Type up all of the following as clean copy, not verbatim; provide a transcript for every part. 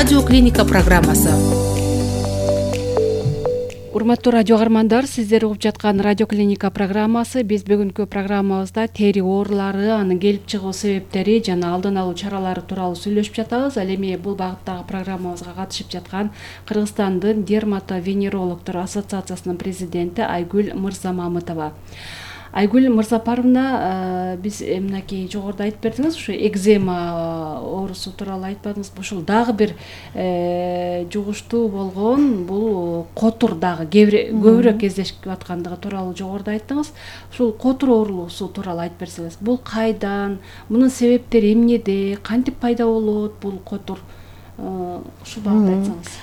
Радио Клиника программасы. Урматтуу радио каармандар, сиздер угуп жаткан Радио Клиника программасы. Биз бүгүнкү программабызда тери оорулары, анын келип чыгуу себептери жана алдын алуу чаралары тууралуу сүйлөшүп жатабыз. Ал эми бул багыттагы программабызга катышып жаткан Кыргызстандын дерматовенерологдор ассоциациясынын президенти Айгүл Мырзамамытова. Айгүл Мырзапаровна, биз мынакей жогоруда айтып бердиңиз, ушу экзема оорусу тууралуу айтпадыңыз. Ушул дагы бир жугуштуу болгон, бул котур дагы көбүрөөк кездешип аткандыгы тууралуу жогоруда айттыңыз. Ушул котур оорусу тууралуу айтып берсеңиз, бул кайдан, мунун себептери эмнеде, кантип пайда болот бул котур? Ушул багытта айтсаңыз.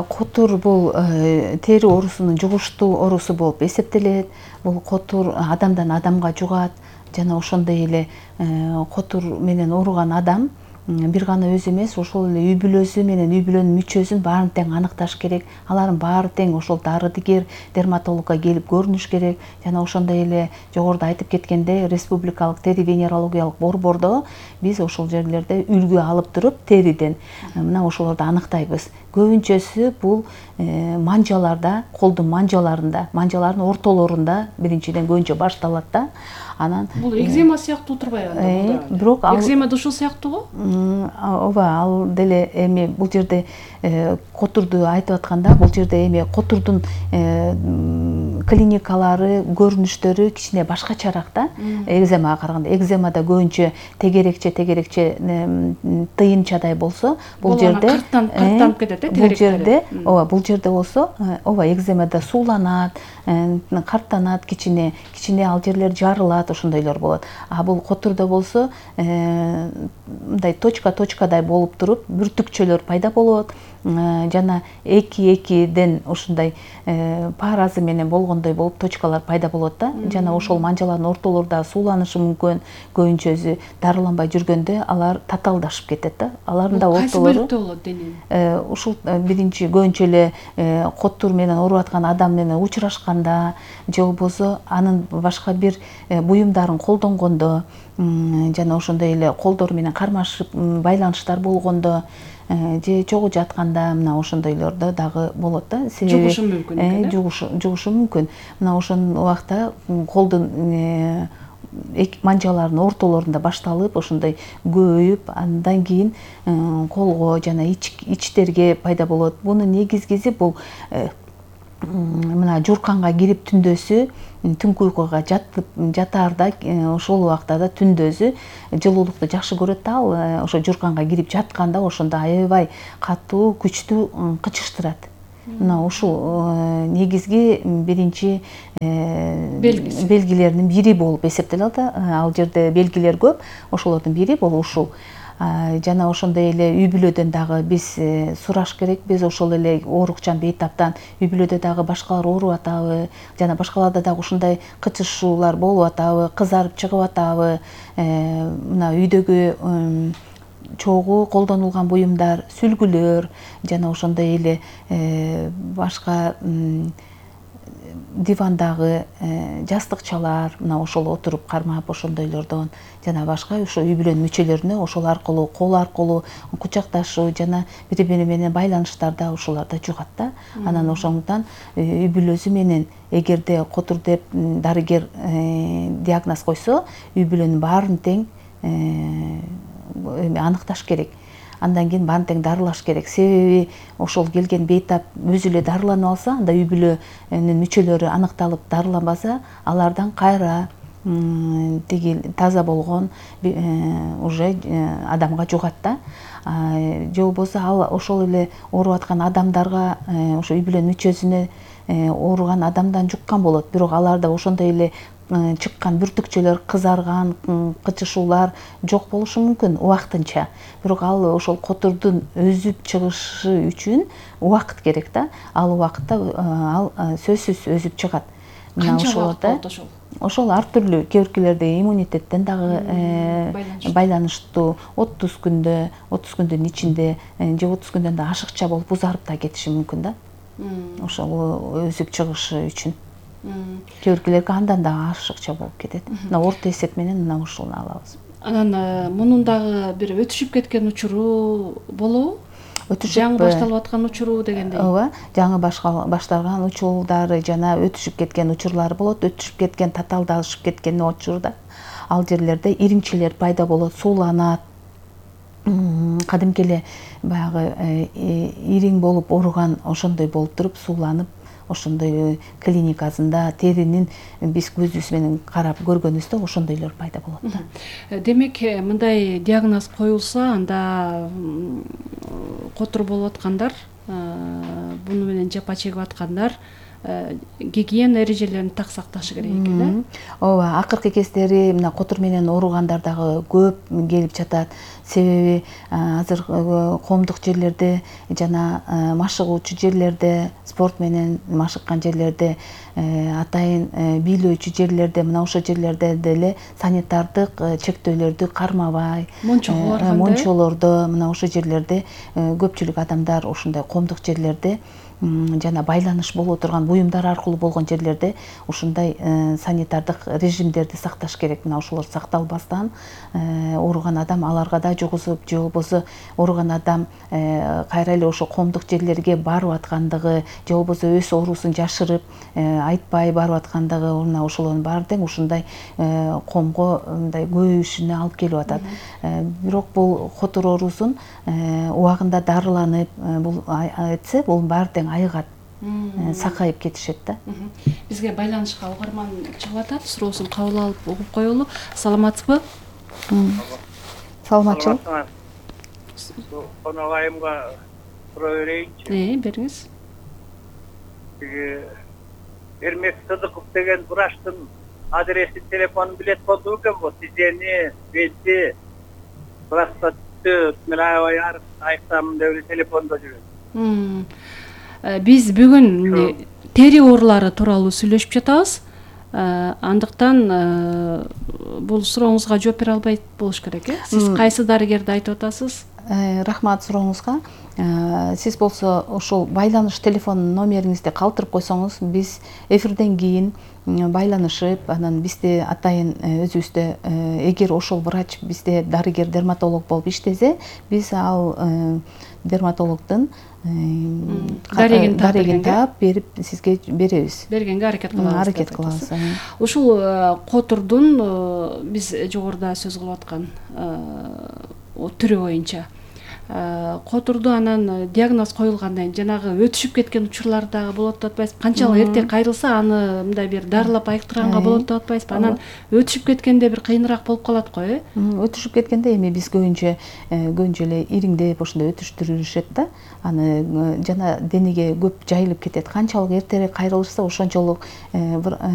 Котур бул тери оорусунун жугуштуу оорусу болуп эсептелет. Бул котур адамдан адамга жугат жана ошондой эле котур менен ооруган адам бир гана өзү эмес, ошол эле үй бүлөсү менен үй бүлөнүн мүчөсүн баарын тең аныкташ керек. Алардын баары тең ошол дарыгер дерматологко келип көрүнүш керек. Жана ошондой эле жогоруда айтып кеткендей, республикалык тери венерологиялык борбордо биз ошол жерлерде үлгү алып туруп териден мына ошолорду аныктайбыз. Көбүнчөсү бул манжаларда, колдун манжаларында, манжалардын ортолорунда биринчиден көбүнчө башталат да. Анан бул экзема сыяктуу турбайбы анда? Бирок экзема да ушул сыяктуго? Ооба, ал деле эми бул жерде котурду айтып атканда, бул жерде эми котурдун клиникалары, көрүнүштөрү кичине башкачараак да. Экземага караганда, экземада көбүнчө тегерекче тыйынчадай болсо, бул жерде карттанып кетет да, бул жерде, ооба, бул жерде болсо, ооба, экземада сууланат, карттанат кичине ал жерлер жарылат, ошондойлор болот. А бул котурда болсо, мындай точкадай болуп туруп, бүртүкчөлөр пайда болот. Жана эки-экиден ушундай паразы менен болгондой болуп точкалар пайда болот да. Жана ошол манжалардын ортолорунда сууланышы мүмкүн. Көбүнчөсү дарыланбай жүргөндө алар татаалдашып кетет да. Алардын да ортолору. Кайсы бөлүктө болот дененин? Ушул биринчи көбүнчө эле котур менен ооруп аткан адам менен учурашканда, же болбосо анын башка бир буюмдарын колдонгондо, жана ошондой эле колдору менен кармашып байланыштар болгондо, же чогуу жатканда мына ошондойлордо дагы болот да. Жугушу мүмкүн. Жугушу мүмкүн. Мына ошол убакта колдун манжалардын ортолорунда башталып, ошондой көбөйүп, андан кийин колго жана ичтерге пайда болот. Бунун негизгиси бул мына жуурканга кирип түндөсү, түнкү уйкуга жатаарда, ошол убакта да түндөсү жылуулукту жакшы көрөт да, ал ошо жуурканга кирип жатканда ошондо аябай катуу, күчтүү кычыштырат. Мына ушул негизги биринчи белгилеринин бири болуп эсептелет да. Ал жерде белгилер көп, ошолордун бири бул ушул. Жана ошондой эле үй бүлөдөн дагы биз сураш керек. Биз ошол эле оорукчан бейтаптан үй бүлөдө дагы башкалар ооруп атабы, жана башкаларда дагы ушундай кычышуулар болуп атабы, кызарып чыгып атабы, мына үйдөгү чогуу колдонулган буюмдар, сүлгүлөр, жана ошондой эле башка дивандагы жастыкчалар, мына ошол отуруп кармап ошондойлордон, жана башка ошо үй бүлөнүн мүчөлөрүнө ошол аркылуу, кол аркылуу кучакташуу жана бири-бири менен байланыштарда ошолорда жугат да. Анан ошондуктан үй бүлөсү менен эгерде котур деп дарыгер диагноз койсо, үй бүлөнүн баарын тең аныкташ керек. Андан кийин баарын тең дарылаш керек. Себеби ошол келген бейтап өзү эле дарыланып алса, анда үй бүлөнүн мүчөлөрү аныкталып дарыланбаса, алардан кайра тиги таза болгон уже адамга жугат да. Же болбосо ал ошол эле ооруп аткан адамдарга, ошо үй бүлөнүн мүчөсүнө ооруган адамдан жуккан болот. Бирок аларда ошондой эле чыккан бүртүкчөлөр, кызарган, кычышуулар жок болушу мүмкүн убактынча. Бирок ал ошол котурдун өзүп чыгышы үчүн убакыт керек да. Ал убакытта ал сөзсүз өзүп чыгат. Канча убакыт болот ошол? Ошол ар түрлүү, кээ-биркилерде иммунитеттен дагы байланыштуу. 30 күндүн ичинде, же 30 күндөн да ашыкча болуп узарып да кетиши мүмкүн да. Ошол өзүп чыгышы үчүн. Кээ-биркилерге андан да ашыкча болуп кетет. Мына орто эсеп менен мына ушуну алабыз. Анан мунун дагы бир өтүшүп кеткен учуру болобу? жаңы башталып аткан учуру дегендей. ооба, жаңы башталган учурлары жана өтүшүп кеткен учурлар болот. Өтүшүп кеткен, татаалдашып кеткен учурда ал жерлерде ириңчилер пайда болот, сууланат. Кадимки эле баягы ириң болуп ооруган ошондой болуп туруп сууланып, ошондой клиникасында теринин биз көзүбүз менен карап көргөнүбүздө ошондойлор пайда болот да. Демек, мындай диагноз коюлса, анда котур болуп аткандар, буну менен жапа чегип аткандар гигиена эрежелерин так сакташы керек экен, да? Ооба, акыркы кездери мына котур менен ооругандар дагы көп келип жатат. Себеби азыр коомдук жерлерде жана машыгуучу жерлерде, спорт менен машыккан жерлерде, атайын бийлөөчү жерлерде, мына ошол жерлерде деле санитардык чектөөлөрдү кармабай, мончолордо, мына ошол жерлерде көпчүлүк адамдар ушундай коомдук жерлерде жана байланыш боло турган буюмдар аркылуу болгон жерлерде ушундай санитардык режимдерди сакташ керек. Мына ошолор сакталбастан ооруган адам аларга да жугузуп, же болбосо ооруган адам кайра эле ошо коомдук жерлерге барып аткандыгы, же болбосо өз оорусун жашырып айтпай барып аткандыгы, мына ошолордун баары тең ушундай коомго мындай көбөйүшүнө алып келип атат. Бирок бул котур оорусун убагында дарыланып бул этсе, бул баары тең айыгат, сакайып кетишет да. Бизге байланышка угарман чыгып атат, суроосун кабыл алып угуп коелу. Саламатсызбы? Саламатчылык. Конок айымга суроо берейинчи. Бериңиз. Эрмек Сыдыков деген врачтын адресин, телефонун билет болду экен бу. Тизени, бети, простатит менен аябай айыктамын деп эле телефондо жүрөт. Биз бүгүн тери оорулары тууралуу сүйлөшүп жатабыз. Андыктан бул сурооңузга жооп бере албайт болуш керек, э? Сиз кайсы дарыгерди айтып атасыз? Рахмат сурооңузга. Сиз болсо ошол байланыш телефон номериңизди калтырып койсоңуз, биз эфирден кийин байланышып, анан бизде атайын өзүбүздө эгер ошол врач бизде дарыгер, дерматолог болуп иштесе, биз ал дерматологдун дарегин таап берип сизге беребиз. Бергенге аракет кылабыз. Аракет кылабыз. Ушул котурдун биз жогоруда сөз кылып аткан түрү боюнча котурду анан диагноз коюлгандан кийин жанагы өтүшүп кеткен учурлар дагы болот деп атпайсызбы? Канчалык эрте кайрылса, аны мындай бир дарылап айыктырганга болот деп атпайсызбы? Анан өтүшүп кеткенде бир кыйыныраак болуп калат го, э? Өтүшүп кеткенде эми биз көбүнчө эле ириңдеп ошондой өтүштүрүшөт да. Аны жана денеге көп жайылып кетет. Канчалык эртерээк кайрылышса, ошончолук